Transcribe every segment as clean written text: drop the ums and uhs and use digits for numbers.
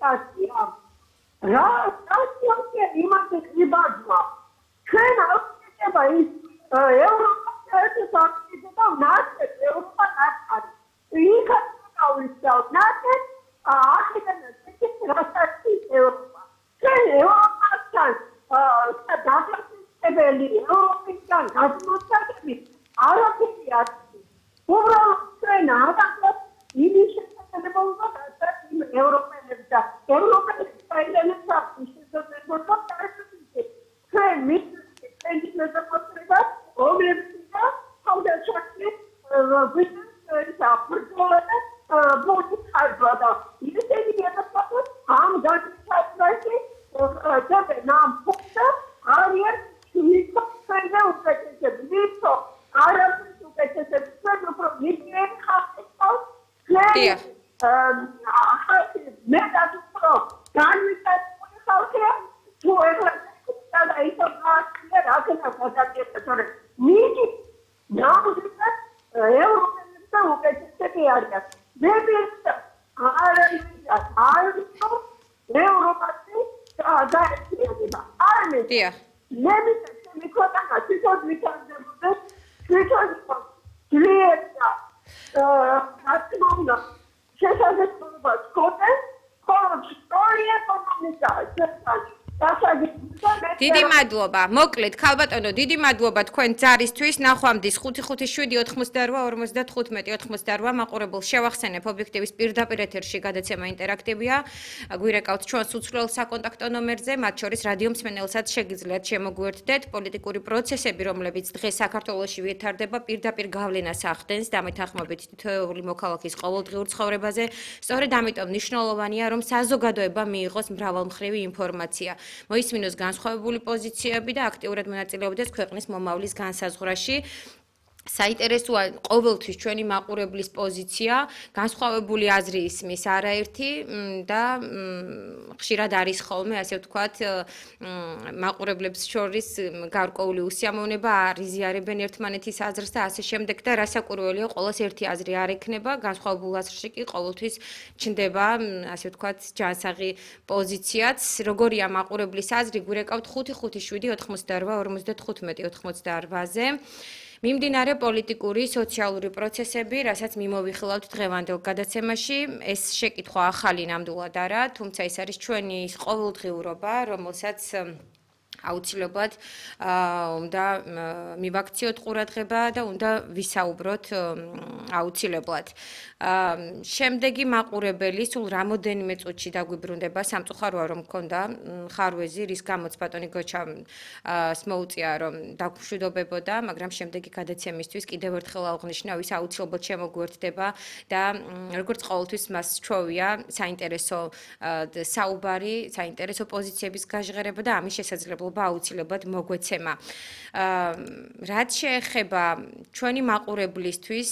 კომუნიკაცია. რა სიტუაცია იმაზე გიბაძვა. ჩვენ აღწევდა ის ევროპის საერთაშორისო და ნაცეთ ევროპა ნაცეთ. იქაც გავისწავლ ნაცეთ ახლა ეს რასაკი ევროპა. ჩვენ ევროპასთან დაგასწრებელი ევროპისგან გადმოსაგები არაფერი არ არის. უბრალოდ ჩვენ აღარ იმის შესაძლებლობა გაჩვენეთ იმ ევროპელებს და ევროპელებს საერთოდ შესაძლებლობა გაჩვენეთ. ჩვენ მის მეზობლება რომლებია თავდაცვაში ბიზნეს აპროტოლეტ ბოდი ხარბადა. ისინი გადაწყვეტენ ამ გადაწყვეტაში და ნამ ფოქდა არიან მიკროფონზე უკეთესები. ვისო არაფერს უკეთესები. ჩვენ უფრო მიგრენ ხალხს დიახ. მე დაგუპრო განვითარებული ხალხია თუ ეხლა და ისო გასწია რა თქმა უნდა თორე მიგი ნამდვილად ევროპელებს და უკეთესები არიან. მე ვიცი არის ევროპაში გაერთიანება. დიახ. მე ვიცი მიკროფონი თვითონ მიტანდებოდა თვითონ ძლიერდა ატმოსფერო შესაძლებლობა სკოტე ხოლო ისტორია კომუნიკა დიდი მადლობა. მოკლედ, ქალბატონო, დიდი მადლობა თქვენ ძარისთვის. ნახვამდის 557-88-95-98 მაყურებელს შევახსენებ ობიექტივის პირდაპირ ეთერში გადაცემა ინტერაქტივია. გვირეკავთ ჩვენს უცვლელ საკონტაქტო ნომერზე, მათ შორის რადიო მსმენელსაც შეგიძლიათ შემოგვიერთდეთ. პოლიტიკური პროცესები, რომლებიც დღეს საქართველოში ვითარდება, პირდაპირ გავლენას ახდენს დამეთანხმებით თითოეული მოქალაქის ყოველდღიურ ცხოვრებაზე. სწორედ ამიტომ მნიშვნელოვანია, რომ საზოგადოება მიიღოს მრავალმხრივი ინფორმაცია. მოისმინოს განსხვავებული პოზიციები და აქტიურად მონაწილეობდეს ქვეყნის მომავლის განსაზღვრაში. საინტერესოა ყოველთვის ჩვენი მაყურებლის პოზიცია, განსხვავებული აზრი ისმის არაერთი და ხშირად არის ხოლმე, ასე ვთქვათ, მაყურებლებს შორის გარკვეული უსიამოვნება, არ იზიარებენ ერთმანეთის აზრს და ასე შემდეგ და რასაკვირველია, ყოველს ერთი აზრი არ ექნება, განსხვავებულ აზრში კი ყოველთვის ჩნდება, ასე ვთქვათ, ჯანსაღი პოზიციაც. როგორია მაყურებლის აზრი, გვირეკავთ 557-88-95-98-ზე. მიმდინარე პოლიტიკური, სოციალური პროცესები, რასაც მიმოვიხილავთ დღევანდელ გადაცემაში, ეს შეკითხვა ახალი ნამდვილად არა, თუმცა ეს არის ჩვენი ყოველდღიურობა, რომელსაც აუცილებლად უნდა მივაქციოთ ყურადღება და უნდა ვისაუბროთ აუცილებლად. შემდეგი მაყურებელი სულ რამოდენიმე წუთში დაგვიბრუნდება, სამწუხაროა რომ მქონდა ხარვეზი, რის გამოც ბატონი გოჩამ მოუწია რომ დაგვშვიდობებოდა, მაგრამ შემდეგი გადაცემისთვის კიდევ ერთხელ აღნიშნავ, ის აუცილებლად შემოგვერთდება და როგორც ყოველთვის მას სჩვევია საინტერესო საუბარი, საინტერესო პოზიციების გაჟღერება და ამის შესაძლებლობა აუცილებლად მოგვეცემა. რაც შეეხება ჩვენი მაყურებლისთვის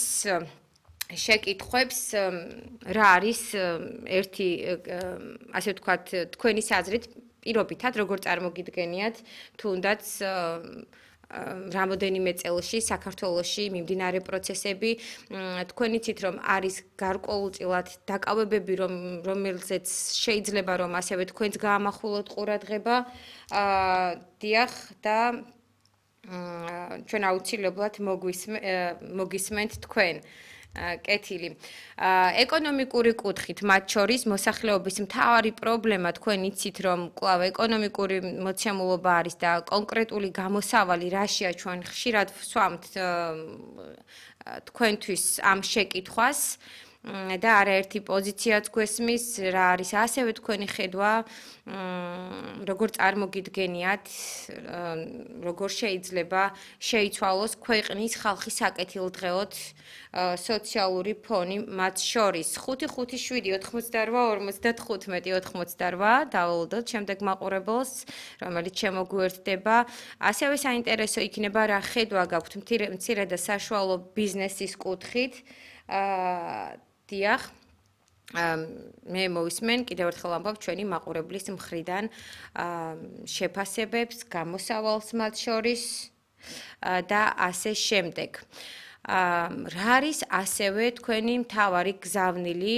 შეკითხვებს, რა არის ერთი, ასე ვთქვათ, თქვენი აზრით პირობითად, როგორ წარმოგიდგენიათ, თუნდაც რამოდენიმე წელში საქართველოში მიმდინარე პროცესები, თქვენ იცით რომ არის გარკვეულწილად დაკავებები, რომელზეც შეიძლება რომ ასევე თქვენც გაამახვილოთ ყურადღება, დიახ და ჩვენ აუცილებლად მოგისმენთ თქვენ. კეთილი. ეკონომიკური კუთხით, მათ შორის მოსახლეობის მთავარი პრობლემა თქვენ იცით რომ კვლავ ეკონომიკური მოცემულობა არის და კონკრეტული გამოსავალი რაშია ჩვენ ხშირად ვსვამთ თქვენთვის ამ შეკითხვას და არაერთი პოზიციაც გვესმის, რა არის ასევე თქვენი ხედვა, როგორ წარმოგიდგენიათ, როგორ შეიძლება შეიცვალოს ქვეყნის ხალხის საკეთილდღეოდ სოციალური ფონი მათ შორის. 557-88-95-98 დავალოდოთ შემდეგ მაყურებელს, რომელიც შემოგვიერთდება. ასევე საინტერესო იქნება რა ხედვა გაქვთ მცირე და საშუალო ბიზნესის კუთხით. დიახ, მე მოვისმენ კიდევ ერთხელ ამბობ ჩვენი მაყურებლის მხრიდან შეფასებებს, გამოსავალს მათ შორის და ასე შემდეგ. რა არის ასევე თქვენი მთავარი გზავნილი